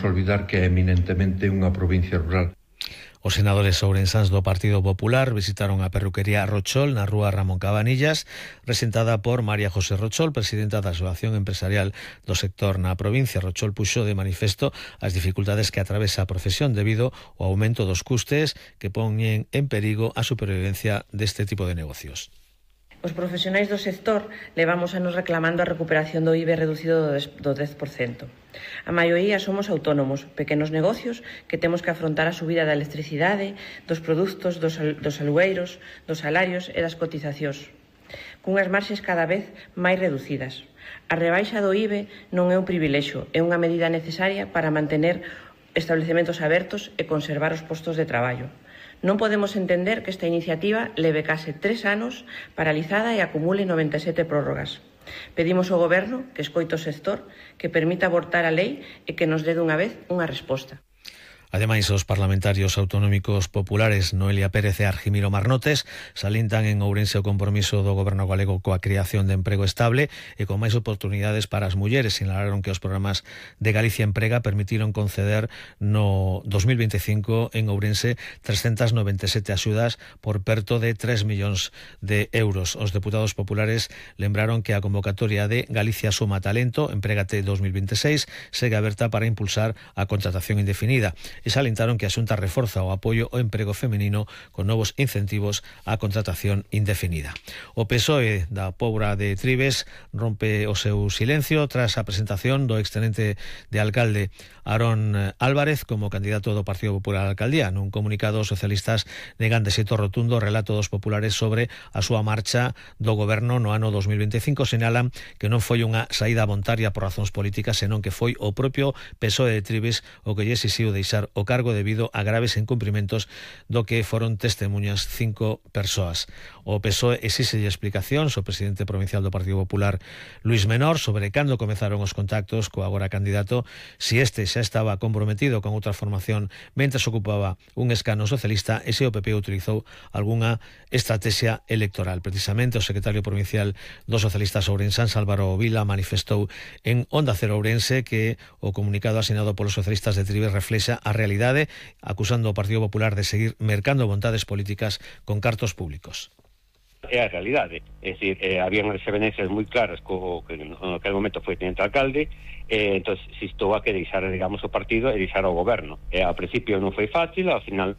olvidar que é eminentemente unha provincia rural. Os senadores ourensáns do Partido Popular visitaron a perruquería Rochol na rúa Ramón Cabanillas, presentada por María José Rochol, presidenta da Asociación Empresarial do sector na provincia. Rochol puxo de manifesto as dificultades que atravesa a profesión debido ao aumento dos custes que poñen en perigo a supervivencia deste tipo de negocios. Os profesionais do sector levamos anos reclamando a recuperación do IBE reducido do 10%. A maioría somos autónomos, pequenos negocios que temos que afrontar a subida da electricidade, dos produtos, dos alugueiros, dos salarios e das cotizacións, cunhas marxes cada vez máis reducidas. A rebaixa do IBE non é un privilexio, é unha medida necesaria para mantener establecementos abertos e conservar os postos de traballo. Non podemos entender que esta iniciativa leve case 3 anos paralizada e acumule 97 prórrogas. Pedimos ao Goberno que escoite o sector, que permita abortar a lei e que nos dé dunha vez unha resposta. Ademais, os parlamentarios autonómicos populares Noelia Pérez e Argimiro Marnotes salientan en Ourense o compromiso do Goberno galego coa creación de emprego estable e con máis oportunidades para as mulleres. Sinalaron que os programas de Galicia Emprega permitiron conceder no 2025 en Ourense 397 axudas por perto de 3 millóns de euros. Os deputados populares lembraron que a convocatoria de Galicia Suma Talento Emprégate 2026 segue aberta para impulsar a contratación indefinida. E salientaron que a Xunta reforza o apoio ao emprego feminino con novos incentivos á contratación indefinida. O PSOE da Pobra de Trives rompe o seu silencio tras a presentación do extenente de alcalde Aarón Álvarez como candidato do Partido Popular á alcaldía. Nun comunicado, os socialistas negan de xeito rotundo o relato dos populares sobre a súa marcha do goberno no ano 2025. Señalan que non foi unha saída voluntaria por razóns políticas, senón que foi o propio PSOE de Trives o que lle exixiu deixar o cargo debido a graves incumprimentos do que foron testemunhas 5 persoas. O PSOE exíxelle explicacións ao presidente provincial do Partido Popular, Luís Menor, sobre cando comezaron os contactos co agora candidato, si este xa estaba comprometido con outra formación mentres ocupaba un escano socialista e se o PP utilizou algunha estrategia electoral. Precisamente o secretario provincial dos socialistas ourensáns, Álvaro Vila, manifestou en Onda Cero Ourense que o comunicado asinado polos socialistas de Trives reflexa a realidade, acusando ao Partido Popular de seguir mercando vontades políticas con cartos públicos. É a realidade, é dicir, habían as evidencias moi claras co que naquele momento foi teniente alcalde, entón se estou a que deixar, digamos, o partido e deixar o goberno. Ao principio non foi fácil,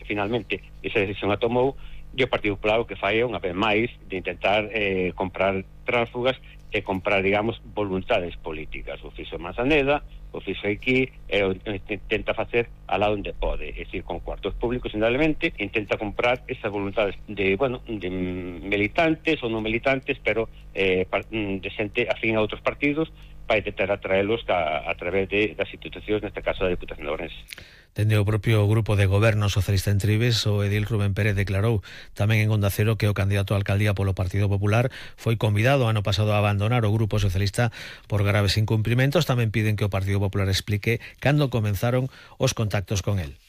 finalmente esa decisión a tomou, e o Partido Popular o que fai é unha vez máis de intentar comprar tránsfugas e comprar, digamos, voluntades políticas. O fixo Manzaneda, o fixo aquí, e intenta facer alá onde pode, é dicir, con cuartos públicos, indudablemente, intenta comprar esas voluntades de, bueno, de militantes ou non militantes, pero de xente afín a outros partidos, para intentar atraelos a través das institucións, neste caso da Diputación de Ourense. Dende o propio grupo de goberno socialista en Trives, o edil Rubén Pérez declarou tamén en Onda Cero que o candidato a alcaldía polo Partido Popular foi convidado ano pasado a abandonar o grupo socialista por graves incumprimentos. Tamén piden que o Partido Popular explique cando comenzaron os contactos con el.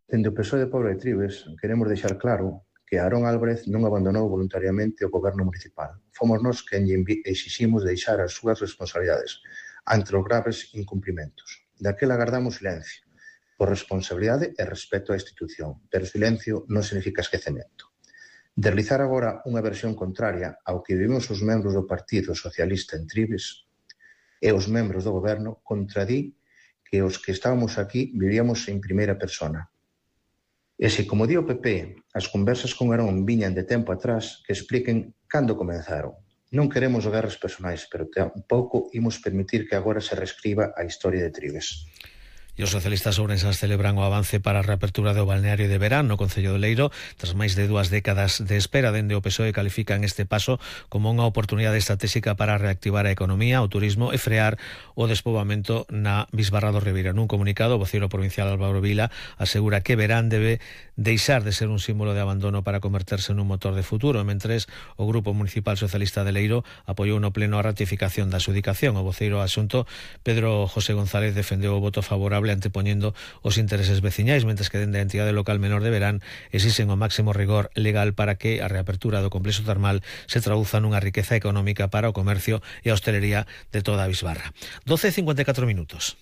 Dende o PSOE de Pobra de Trives queremos deixar claro que Aarón Álvarez non abandonou voluntariamente o goberno municipal. Fomos nós quen exiximos deixar as súas responsabilidades ante os graves incumprimentos. Daquela agardamos silencio, por responsabilidade e respeto á institución, pero silencio non significa esquecemento. Deslizar agora unha versión contraria ao que vivimos os membros do Partido Socialista en Trives e os membros do goberno contradí que os que estábamos aquí vivíamos en primeira persona. E se, como di o PP, as conversas con Aarón viñan de tempo atrás, que expliquen cando comenzaron. Non queremos guerras personais, pero tampouco imos permitir que agora se reescriba a historia de Trives. E os socialistas ourensáns celebran o avance para a reapertura do balneario de verán no Concello de Leiro. Tras máis de 2 décadas de espera, dende o PSOE califican este paso como unha oportunidade estratégica para reactivar a economía, o turismo e frear o despoboamento na Bisbarra do Ribeira. Nun comunicado, o voceiro provincial Álvaro Vila asegura que verán debe deixar de ser un símbolo de abandono para converterse nun motor de futuro, mentres o Grupo Municipal Socialista de Leiro apoiou no pleno a ratificación da adxudicación. O voceiro asunto, Pedro José González, defendeu o voto favorable antepoñendo os intereses veciñais, mentres que dende a entidade local menor de Verán exixen o máximo rigor legal para que a reapertura do complexo termal se traduza nunha riqueza económica para o comercio e a hostelería de toda a Bisbarra. 12:54 minutos.